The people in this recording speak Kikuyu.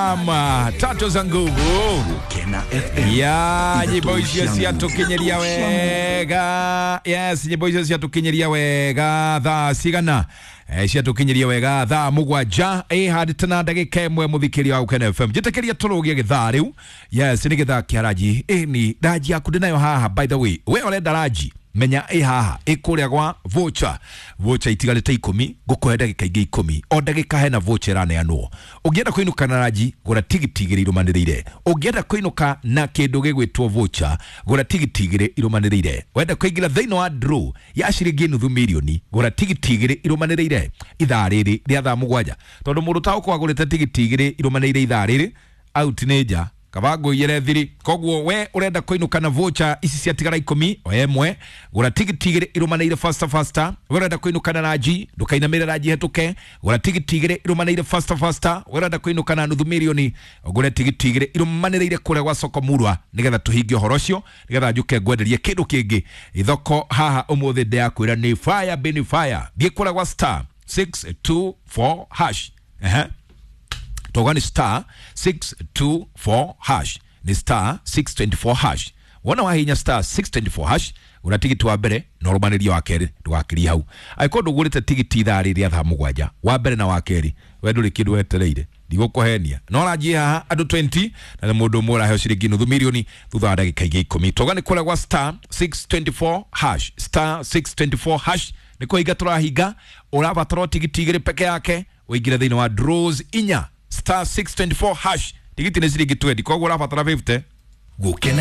Ama tatu za nguvu Kena FM ya nyimbo ithatũ icio cia ciatũkinyeria nguvu. wega. Yes, nyimbo icio ciatũkinyeria wega thaa cigana? Ciatũkinyeria wega thaa 7 ĩhandĩte na ndagĩka 1 mũthikĩria wa Gũkena FM. Njĩtĩkĩria tũrũgie gĩthaa rĩu. Yes, nĩ gĩthaa kĩa ranji. Ĩni ranji yaku ndĩnayo haha, by the way. We ũrenda ranji, menya ĩ haha, ĩ kũrĩa gwa voucher. Voucher itigarĩte 10, ngũkũhe ndagĩka ingĩ 10. O ndagĩka hena voucher ĩraneanwo. Ũngĩenda kũinũka na ranji, gũra tigiti 2 irũmanĩrĩire. Ũngĩenda kũinũka na kĩndũ gĩgwĩtwo voucher, gũra tigiti 2 irũmanĩrĩire. Wenda kũingĩra thĩinĩ wa draw ya ciringi 500,000, gũra tigiti 2 irũmanĩrĩire ithaa rĩrĩ rĩa thaa 7. Tondũ mũndũ taũkwo agũrĩte tigiti 2 irũmanĩrĩire ithaa rĩrĩ, out nĩ nja kaba ngũiyĩre thiri. Koguo we ũrenda kũinũka na voucher ici ciatigara 10 o ĩmwe, gũra tigiti 2 irũmanĩire faster faster. We ũrenda kũinũka na ranji, ndũkainamĩre ranji hetũke, gũra tigiti 2 irũmanĩire faster faster. We ũrenda kũinũka na 500,000, ũgũre tigiti 2 irũmanĩrĩire kũrĩa gwa soko murwa, nĩgetha tũhingie ũhoro ũcio, nĩgetha njũke ngwenderie kĩndũ kĩngĩ ithoko haha ũmũthĩ. Ndĩrakwĩra nĩ fire bin fire. Thiĩ kũrĩa gwa star 624 hash. Ehe, toga ni star 624 hash, ni star 624 hash. Wona wahinya star 624 hash, gũra tigiti wa mbere na ũrũmanĩrie wa kerĩ, ndũgakirie hau. Angĩkorwo ndũgũrĩte tigiti ithaa rĩrĩ rĩa thaa 7, wa mbere na wa kerĩ, we ndũrĩ kĩndũ wetereire, ndigũkũhenia. No ranjie haha andũ 20 na nĩ mũndũ ũmwe ũraheo ciringi 500,000 thutha wa ndagĩka ingĩ 10. Toga nĩ kũrĩa gwa star 624 hash, star 624 hash nĩ kũhinga tũrahinga. Ũrabatara o tigiti 2 peke yake ũingĩre thĩinĩ wa draws 4, star 624 hash. Tigiti nĩ ciringi 20, koguo ũrabatara 50. Gũkena.